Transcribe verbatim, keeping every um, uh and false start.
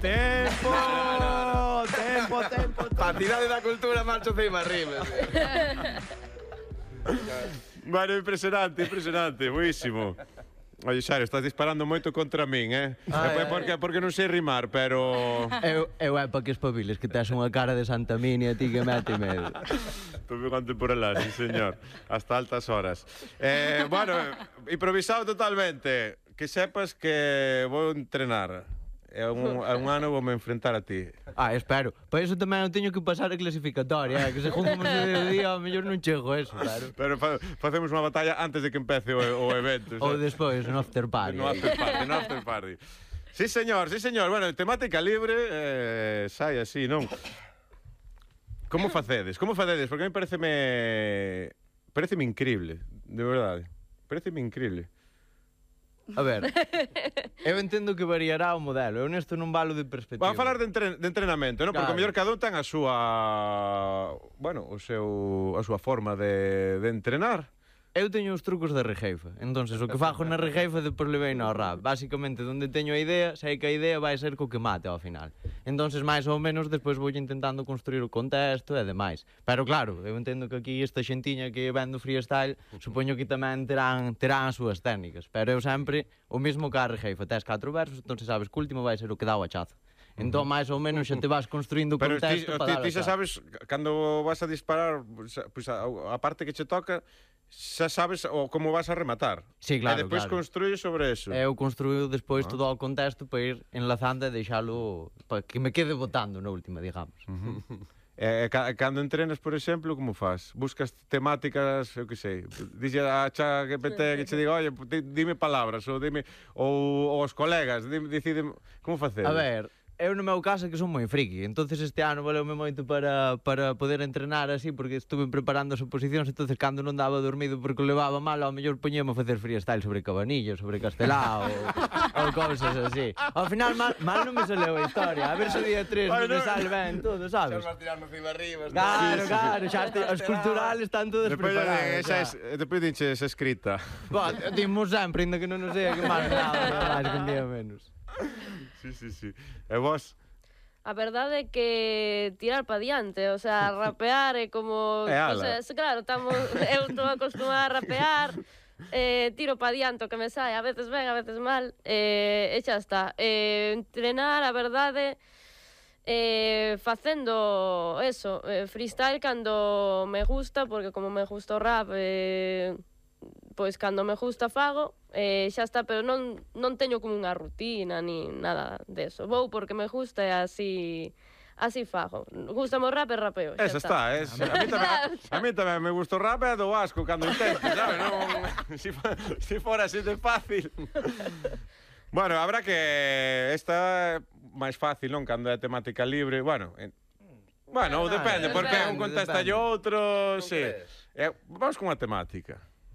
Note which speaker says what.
Speaker 1: Tempo! Tempo, tempo, tempo.
Speaker 2: A cidade da cultura marcho ceima arriba.
Speaker 1: Bueno, impresionante, impresionante, buísimo. Oye, Xario, estás disparando moito contra min, eh?
Speaker 3: Ah,
Speaker 1: é
Speaker 3: é,
Speaker 1: porque, porque non sei rimar, pero...
Speaker 3: Eu, eu é para que espabiles, que tes unha cara de Santa Minia, ti que mete medo.
Speaker 1: Tuve contemporánea, sí, señor. Hasta altas horas. Eh, bueno, improvisado totalmente. Que sepas que vou entrenar. É un, é un ano vou me enfrentar a ti.
Speaker 3: Ah, espero. Para iso tamén eu teño que pasar a clasificatoria, eh? Que según como se deu día, ao mellor non chego a eso, claro.
Speaker 1: Pero fa, facemos unha batalla antes de que empece o, o evento.
Speaker 3: Ou despois, no after party.
Speaker 1: No after party, no after party. Sí, señor, sí, señor. Bueno, temática libre, eh, sai así, non? Como facedes? Como facedes? Porque a mí pareceme... Pareceme increíble, de verdade. Pareceme increíble.
Speaker 3: A ver, eu entendo que variará o modelo. Eu nesto non valo de perspectiva.
Speaker 1: Vamos a falar de, entren de entrenamento, non? Porque
Speaker 3: Claro.
Speaker 1: o mellor cada un ten a súa... Bueno, o seu, a súa forma de, de entrenar.
Speaker 3: Eu teño os trucos da rejeifa. Entonces, o que fago na rejeifa depois levei no rap. Básicamente, onde teño a idea, sei que a idea vai ser co que mate ao final. Entonces, máis ou menos, despois vou intentando construir o contexto e demais. Pero claro, eu entendo que aquí esta xentiña que ven do freestyle, supoño que tamén terán, terán as súas técnicas. Pero eu sempre, o mesmo que a rejeifa, tes catro versos, entón sabes que o último vai ser o que dá o hachazo. Entón, máis ou menos, xa te vas construindo o
Speaker 1: Pero ti,
Speaker 3: contexto
Speaker 1: ti,
Speaker 3: para dar
Speaker 1: ti xa sabes, cando vas a disparar, pues, a, a parte que che toca, xa sabes o como vas a rematar.
Speaker 3: Sí, claro,
Speaker 1: E despois
Speaker 3: claro.
Speaker 1: construís sobre eso.
Speaker 3: Eu construíu despois
Speaker 1: Ah.
Speaker 3: todo o contexto para ir enlazando e deixalo para que me quede botando na última, digamos.
Speaker 1: E, ca, cando entrenas, por exemplo, como faz? Buscas temáticas, eu que sei, dixe a cha G P T que che diga, oye, di- dime palabras, ou dime, ou, ou os colegas, dime, deciden, como facer?
Speaker 3: A ver, eu no meu caso que son moi friki, entonces este ano valeume moito para, para poder entrenar así, porque estuve preparando as oposicións, entonces cando non daba dormido porque o levaba mal, ao mellor poñemos a facer freestyle sobre Cabanillo, sobre Castelao, ou, ou cousas así. Ao final mal, mal non me saleu a historia, a ver se o día tres
Speaker 1: Ay,
Speaker 3: me
Speaker 1: no.
Speaker 3: sale ben todo, sabes?
Speaker 2: Vas tirando cima arriba.
Speaker 3: Claro, claro, xa te, os culturales están todos
Speaker 1: Despois,
Speaker 3: preparados.
Speaker 1: esa
Speaker 3: xa.
Speaker 1: es, despois dinche esa escrita.
Speaker 3: Bah, dimos sempre, ainda que non nos sei que máis nada, máis que un día menos.
Speaker 1: Sí, sí, sí. E vos?
Speaker 4: A verdade é que tirar pa diante, o sea, rapear é como...
Speaker 1: É ala.
Speaker 4: O sea, es- claro, estamos, eu estou acostumada a rapear, eh, tiro pa diante o que me sai, a veces ben, a veces mal, eh, e xa está. Eh, entrenar, a verdade, eh, facendo eso, eh, freestyle cando me gusta, porque como me gusta o rap, eh, pois cando me gusta fago, eh, xa está, pero non, non teño como unha rutina ni nada deso. Vou porque me gusta e así así fago. Gústame o rap e rapeo. xa
Speaker 1: Esa está, es, a mí tamén, a mí tamén me gusta o rap e do asco cando intento, sabes? Non, si, fo- si fora así de fácil. Bueno, habrá que esta é máis fácil, non? Cando é temática libre, bueno, en, bueno,
Speaker 3: Ah,
Speaker 1: depende, porque un
Speaker 3: depende,
Speaker 1: contesta
Speaker 3: depende.
Speaker 1: e outro,
Speaker 2: Non
Speaker 1: sí.
Speaker 2: crees?
Speaker 1: Eh, vamos con a temática.